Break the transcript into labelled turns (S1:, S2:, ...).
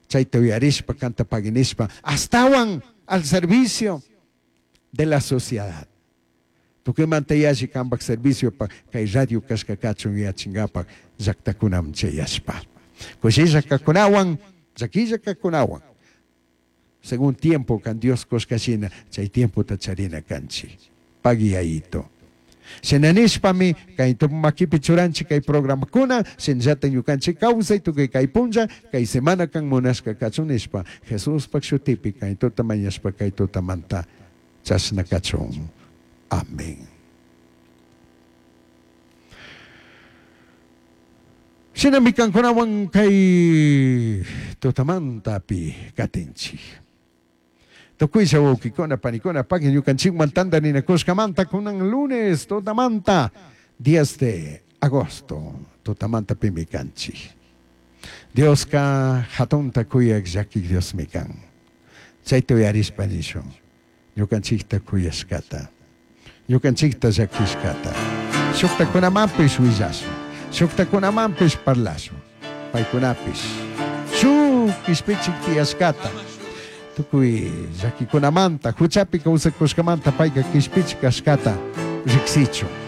S1: Chayta uyarishpa kanta pagui nishpa ashtawan al servicio de la sociedad. Tukuymanta yalli kanpak serviciopak kay radio kashka kachun yuyachinkapak llaktakunaman chayashpa. Kushilla kakunawan, llakilla kakunawan. Según tiempo kan Dios kushka shina chay tiempota charina kanchik. Pagui Yayito. Shina nishpami kay makipi churanchik kay programakuna, shinallatak ñukanchik kawsay tukuy kay punlla, kay semana kan munashka kachun nishpa Jesuspak shutipi kay tuta mañashpa kay tutamanta chashna kachun. Amén. Shinami kankunawan kay tutamantapi katinchik. Tukuylla wawkikuna, panikuna, pagui ñukanchikman tantarinakushkamanta kunan lunes tutamanta 10 de agosto tutamantapimi kanchik. Dioska hatunta kuyak llakik Diosmi kan. Chayta uyarishpa nishun ñukanchikta kuyashkata, ñukanchikta llakishkata. Shuktakunamanpish willashun, shuktakunamanpish parlashun, paykunapish shuk kishpichik tiyashkata. Tukuy llakikunamanta, huchapi kawsakushkamanta payka kishpichik kashkata riksichun.